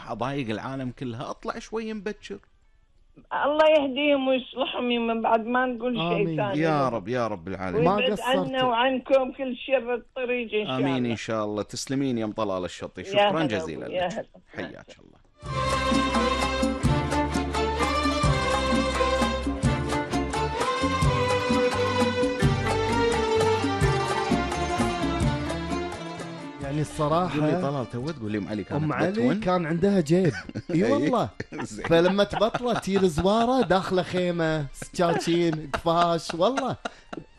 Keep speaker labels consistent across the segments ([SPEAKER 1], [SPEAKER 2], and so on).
[SPEAKER 1] راح أضايق العالم كلها، أطلع شوي مبكر.
[SPEAKER 2] الله يهديهم ويصلحهم من بعد ما نقول شيء ثاني.
[SPEAKER 1] يا رب يا رب العالمين.
[SPEAKER 2] ويبعد عنا وعنكم كل شر الطريق إن شاء الله.
[SPEAKER 1] آمين إن شاء الله. تسلمين يا أم طلال الشطي، شكرا جزيلا لك، حياك الله.
[SPEAKER 3] يعني الصراحة
[SPEAKER 1] طلال تو تقول لي أم علي كانت
[SPEAKER 3] أم علي كان عندها جيب. اي والله. فلما تبطلت تير زوارة داخله خيمة، سكاكين، قفاش، والله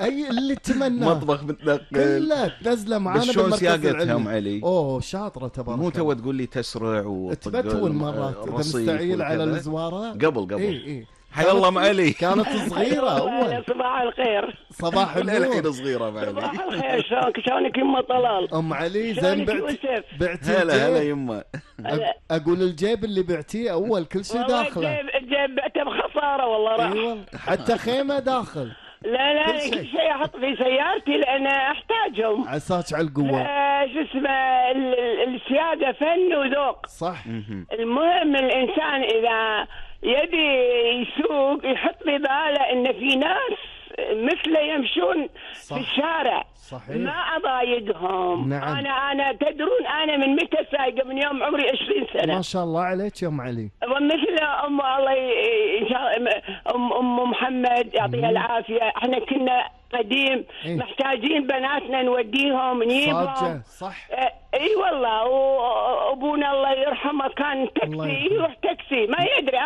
[SPEAKER 3] اي اللي تمنى،
[SPEAKER 1] مطبخ متنقل
[SPEAKER 3] كلها تنزله معانا
[SPEAKER 1] بالمركز العلمي. ام علي
[SPEAKER 3] شاطرة تبارك.
[SPEAKER 1] مو تو تقول لي تسرع
[SPEAKER 3] وتبتون مرات اذا مستعيل على الزوارة
[SPEAKER 1] قبل
[SPEAKER 3] اي
[SPEAKER 1] حيا الله ام علي.
[SPEAKER 3] كانت صغيرة اول.
[SPEAKER 2] صباح الخير.
[SPEAKER 3] صباح النور.
[SPEAKER 1] الحين صغيرة ام علي.
[SPEAKER 2] صباح الخير. شلونك يمه طلال؟
[SPEAKER 3] ام علي زين بعتي
[SPEAKER 1] هلا يمه.
[SPEAKER 3] اقول الجيب اللي بعتيه اول كل شيء داخله.
[SPEAKER 2] الجيب بعته بخسارة والله راح.
[SPEAKER 3] ايوه حتى خيمة داخل.
[SPEAKER 2] لا كل شيء احط في سيارتي لان احتاجهم.
[SPEAKER 3] عساك على القوة.
[SPEAKER 2] شو اسمه السيادة فن وذوق.
[SPEAKER 3] صح.
[SPEAKER 2] المهم الانسان اذا يبي يسوق يحط في باله ان في ناس مثله يمشون
[SPEAKER 3] صح.
[SPEAKER 2] في الشارع.
[SPEAKER 3] صحيح.
[SPEAKER 2] ما اضايقهم.
[SPEAKER 3] نعم.
[SPEAKER 2] انا تدرون انا من متى سايقه؟ من يوم عمري 20 سنه.
[SPEAKER 3] ما شاء الله عليك يا ام علي.
[SPEAKER 2] ومثل ام الله ان شاء الله ام محمد يعطيها العافيه. احنا كنا قديم محتاجين بناتنا نوديهم نجيبهم.
[SPEAKER 3] صح.
[SPEAKER 2] اي والله. وابونا الله يرحمه كان تاكسي، يروح تاكسي ما يدري.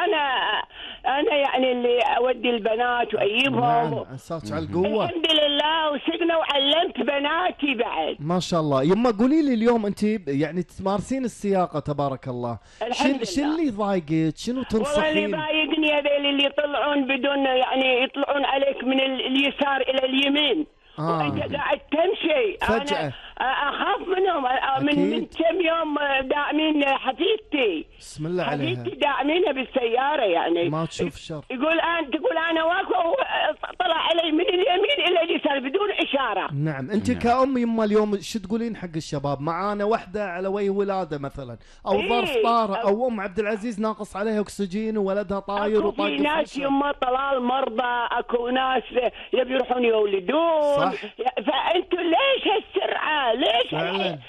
[SPEAKER 2] انا يعني اللي اودي البنات واجيبهم.
[SPEAKER 3] نعم. اساس على القوه.
[SPEAKER 2] الحمد لله. وسقنا وعلمت بناتي بعد.
[SPEAKER 3] ما شاء الله. يما قولي لي اليوم انت يعني تمارسين السياقه تبارك الله، شو اللي ضايقك؟ شنو تنصحين؟
[SPEAKER 2] والله اللي ضايقني هذول اللي يطلعون بدون يعني يطلعون عليك من اليسار الى اليمين. وانت قاعد تمشي
[SPEAKER 3] فجأة.
[SPEAKER 2] انا اخاف منهم. من كم يوم داعمين حفيدتي.
[SPEAKER 3] بسم الله عليها.
[SPEAKER 2] حفيدتي داعمينها بالسياره يعني
[SPEAKER 3] ما تشوف شر.
[SPEAKER 2] تقول انا واقفه طلع علي من اليمين الى اليسار بدون اشاره.
[SPEAKER 3] نعم. انت كأم يما اليوم شو تقولين حق الشباب؟ معانا وحده على وجه ولاده مثلا او ظرف طارئ او ام عبد العزيز ناقص عليها اكسجين وولدها طاير
[SPEAKER 2] وطاير. في ناس يما طلال مرضى، اكو ناس يبي يروحون يولدون. فانتوا ليش هالسرعه؟ ليش
[SPEAKER 3] فعلا.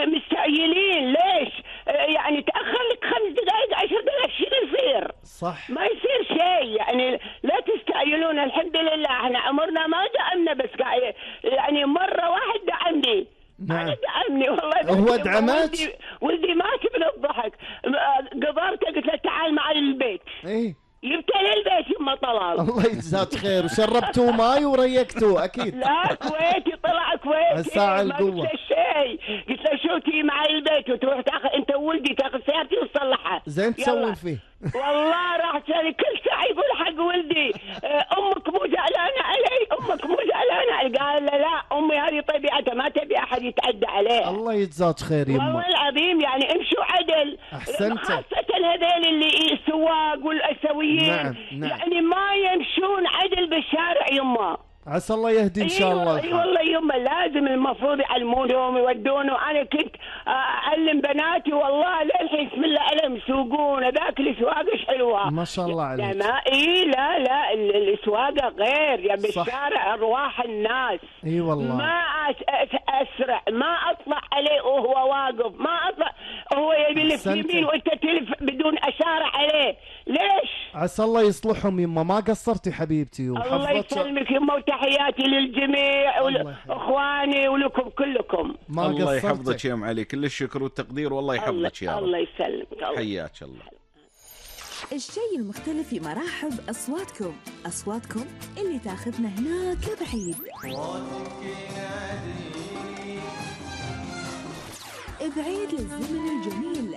[SPEAKER 2] مستعجلين؟ ليش يعني تاخر لك 5 دقائق 10 دقائق شو يصير؟
[SPEAKER 3] صح.
[SPEAKER 2] ما يصير شيء يعني. لا تستعجلون. الحمد لله احنا عمرنا ما دعمنا، بس يعني مره واحد دعمني.
[SPEAKER 3] نعم.
[SPEAKER 2] دعمني والله.
[SPEAKER 3] هو دعمك؟
[SPEAKER 2] ولدي مات من الضحك. قدرته قلت له تعال معي البيت. جبته للبيت يما طلال.
[SPEAKER 3] الله يجزاك خير. وشربتوه ماي وريقتوه اكيد.
[SPEAKER 2] لا كويتي طلع كويتي.
[SPEAKER 3] الساعة القوة.
[SPEAKER 2] ما شيء. قلت له شو تي معي البيت وتروح تاخذ انت وولدي تاخذ سيارتي وتصلحها.
[SPEAKER 3] زين تسوين فيه.
[SPEAKER 2] والله راح تسوي كل ساعه يقول حق ولدي امك مو زعلانه علي، امك مو زعلانه علي. قال لا امي هذه طبيعتها ما تبي احد يتعدى عليها.
[SPEAKER 3] الله يجزاك خير يمه.
[SPEAKER 2] والله العظيم يعني امشوا عدل.
[SPEAKER 3] احسنت.
[SPEAKER 2] خاصه هذول اللي السواق والاسويين.
[SPEAKER 3] نعم.
[SPEAKER 2] يعني ما يمشون عدل بالشارع يمه.
[SPEAKER 3] عسى الله يهدي ان شاء الله.
[SPEAKER 2] اي والله يمه لازم المفروض يعلمونهم ويودونهم. انا كنت اعلم بناتي والله للحين بسم الله عليهم يسوقون. ذاك السواقه حلوه
[SPEAKER 3] ما شاء الله عليك.
[SPEAKER 2] لا السواقه غير يا بالشارع ارواح الناس.
[SPEAKER 3] اي والله.
[SPEAKER 2] ما اسرع، ما اطلع عليه وهو واقف، ما اطلع هو يبي يلف يمين وانت تلف بدون اشاره عليه. ليش؟
[SPEAKER 3] عسى الله يصلحهم يما. ما قصرتي حبيبتي.
[SPEAKER 2] الله يسلمك يما. وتحياتي للجميع واخواني ولكم كلكم.
[SPEAKER 1] الله يحفظك يا ام علي. كل الشكر والتقدير والله يحفظك يا رب.
[SPEAKER 2] الله يسلمك.
[SPEAKER 1] حياك الله.
[SPEAKER 4] الشيء المختلف في مرحب أصواتكم اللي تاخذنا هناك لبعيد. بعيد للزمن الجميل